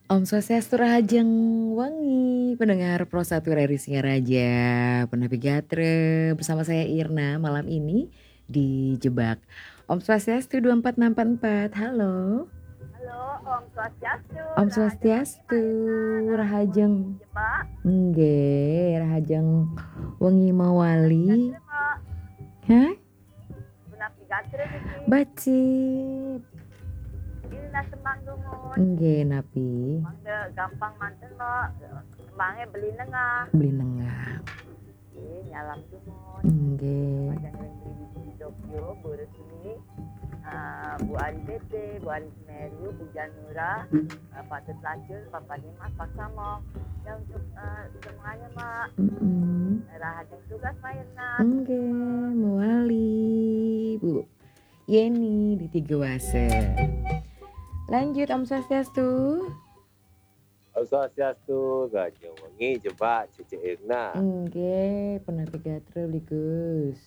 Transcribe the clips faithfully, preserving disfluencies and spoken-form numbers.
Om Swastiastu, Rahajeng Wengi, pendengar Pro satu R R I Singaraja, Penapi Gatra, bersama saya Irna malam ini di Jebak. Om Swastiastu dua empat enam empat empat, halo. Halo, Om Swastiastu. Om Swastiastu, Rahajeng. Nggih, Rahajeng Wengi Mawali. Hah? Penapi Gatra niki. Becik. Ini lah tembang dumun. Nggih, napi? Mangda gampang manten, Mbak. Tembangnya Beli Nengah. Beli Nengah. Nggih, nyalam dumun. Nggih. Yang ring di Tokyo, Bu Resmi, eh, Bu Ari Tete, Bu Ari Semeru, Bu Janura, eh, Pak Tut Lacur, Papa Dimas, Pak Samo. Ya, untuk eh, semuanya, Mbak. Mm-mm. Rahajeng tugas, Mbak Irna. Nggih, mawali, Bu Yeni di Tiga Wase. Lanjut, Om Swastiastu. Om Swastiastu, Rahajeng Wengi, Jebak, Cece Irna. Nggih, Penapi Gatra, Bli Gus.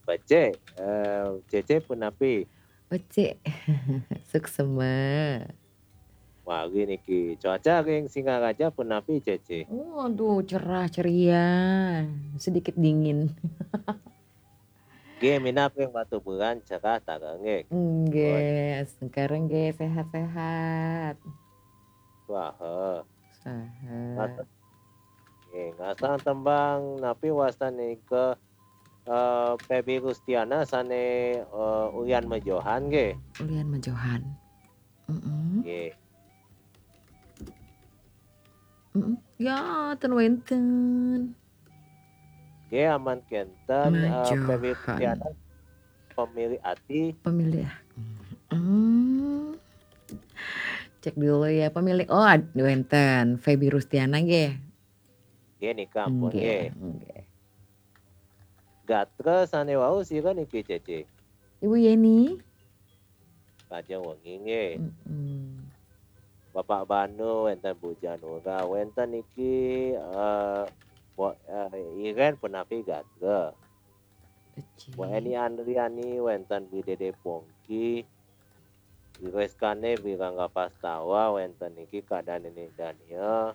Becik, eh, Cece punapi? Becik. Suksema. Wari niki, cuaca ring Singaraja punapi, Cece? Waduh, cerah ceria. Sedikit dingin. Nggih, minab ring Batubulan cerah taler nggih. Nggih, sekarang nggih sehat-sehat. Wah, eh. Sehat. Nggih, ngasang tembang napi wastan nika, eh, Feby Rustiana sane, eh, Ulian Mejohan nggih. Ulian Mejohan. Mm-mm. Nggih. Mm-mm. Ya, ten wenten. Nggih, aman kenten, eh, Feby Mejohan. Rustiana, Pemilik Ati. Pemilik. Hmm. Cek dulu ya, pemilik. Oh, ad- wenten Feby Rustiana nggih. Nggih, nika ampun nggih. Nggih. Gatra sane wau sira niki, Cece? Ibu Yeni. Rahajeng Wengi nggih. Mm-mm. Bapak Banu, wenten Bu Janura, wenten niki, eh, Bu, eh, Iren punapi gatra. Becik. Bu Eni Andriani, wenten Bu Dede Pongki, Bu Reskane, Bu Rangga Pastawa, wenten niki Kadang Nini Dania.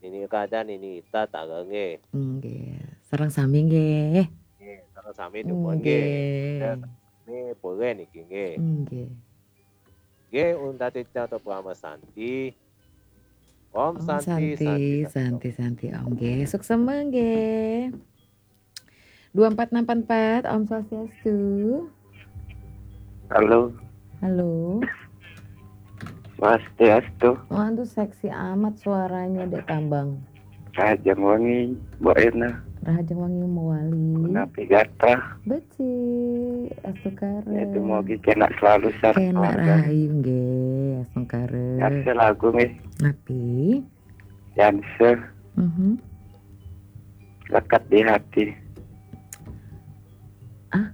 Nini Kadang, Nini Ita taler nggih. Nggih. Sareng sami nggih. Nggih, sareng sami dumun nggih. Nggih. Nggih, boleh niki nggih. Nggih. Nggih, untat titah atau Parama Santi. Om Om Santi, Santi, Santi, Santi, Om. Nggih, suksema nggih. Dua empat enam empat, Om Swastiastu. Halo, Halo. Swastiastu. Waduh, seksi amat suaranya, Dek Tambang. Rahajeng Wengi, Mbok Irna. Rahajeng Wengi mawali. Punapi gatra. Becik, astungkara. Ya, dumugi kenak selalu, sar Kenak keluarga. Rahayu nggih, astungkara. Yarsa lagu nggih. Napi? Yarsa Mhm. Lekat di Hati. Ah?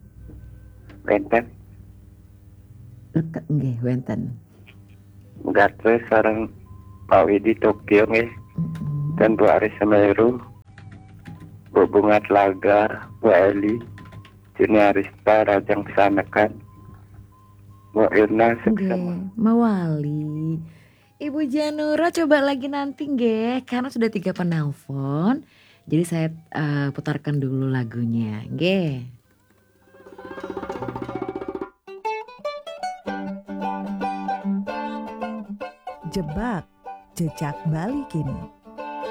Wenten. Lekat nggih wenten. Gatra sareng Pak Widi Tokyo nggih. Mm-mm. Dan Bu Aris Semeru. Bu Bunga Telaga, Bu Eli. Juni Arista, Rahajeng Sanekan. Mbok Irna, suksema. Nggih, mawali. Ibu Janura, coba lagi nanti nggih, karena sudah tiga penelpon. Jadi saya eh, putarkan dulu lagunya, nggih. Jebak, jejak Bali kini.